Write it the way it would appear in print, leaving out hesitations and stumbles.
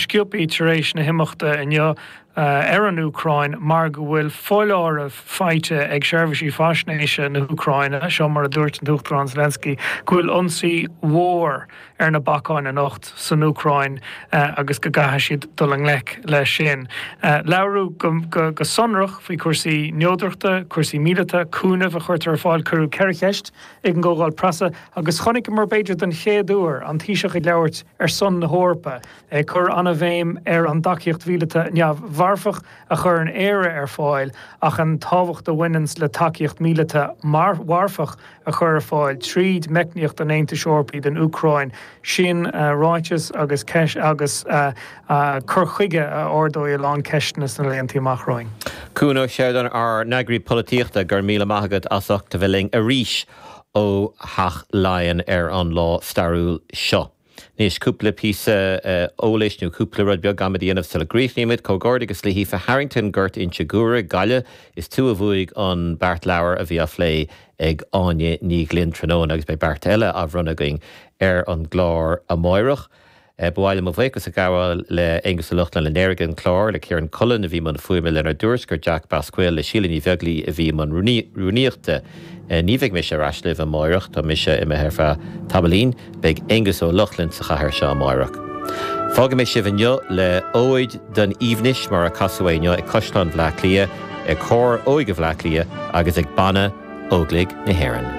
sciobthaí tar éis na himeachta inniu ar an Úcráin mar go bhfuil foláireamh faighte ag seirbhísí faisnéise na hÚcráine, seo mar a dúirt an tUachtarán Zelensky, go bhfuil ionsaí mhór ar na bacáin anocht san Úcráin agus go gcaithfidh siad dul i ngleic leis sin. Labhradh go sonrach faoi chúrsaí neodrachta, cúrsaí míleata, cúnamh a chuirtear ar fáil. Cuireadh 4 cheist ag an gcomhdháil preasa agus chonaiceamar, b'fhéidir don chéad uair, an Taoiseach ag labhairt ar son na hEorpa, ag cur an-bhéim ar an dtacaíocht mhíleata neamh-mharfach a chuireann Éire ar fáil ach an tábhacht a bhaineanns le tacaíocht mhíleata mharfach a chur ar fáil tríd meicníocht an Aontais Eorpaigh don Úcráin. Sin ráiteas agus agus cur chuige a ardóidh a lán ceisteanna sna laethanta amach romhainn. Cuan Ó Seireadáin, ár n-eagraí polaitíochta, go raibh míle maith agat as ucht a bheith linn arís ó Theach Laighean ar an lá stairiúil seo. Anois, cúpla píosa eolais nó cúpla rud beag agam a dhéanamh sula gcríochnaímid. Comhghairdeachas le hAoife Harrington, Gort Inse Guaire, Gaillimh. Is tú a bhuaigh an beart leabhar a bhí á phlé ag Áine Ní Ghlinn tráthnóna agus beidh beart eile á bhronnadh againn ar an gclár amáireach. Ba mhaith liom mo bhuíochas a ghabháil le Aonghus Ó Lochlainn a léirigh an clár, le Ciarán Cullen a bhí i mbun fuaime, lenár dtuairisceoir Jack Basquille, le Síle Ní Bheaglaoi a bhí i mbun rúnaíochta. Ní bheidh mise ar ais libh amáireach, tá mise imithe ar feadh tamaillín. Beidh Aonghus Ó Lochlainn sa chathaoir seo amáireach. Fágfaidh mé sibh inniu le Óid don Aoibhneas mar a casadh é inniu ag Caisleán Bhaile Átha Cliath, ag Cór Óige Bhaile Átha Cliath agus ag Banna Óglaigh na hÉireann.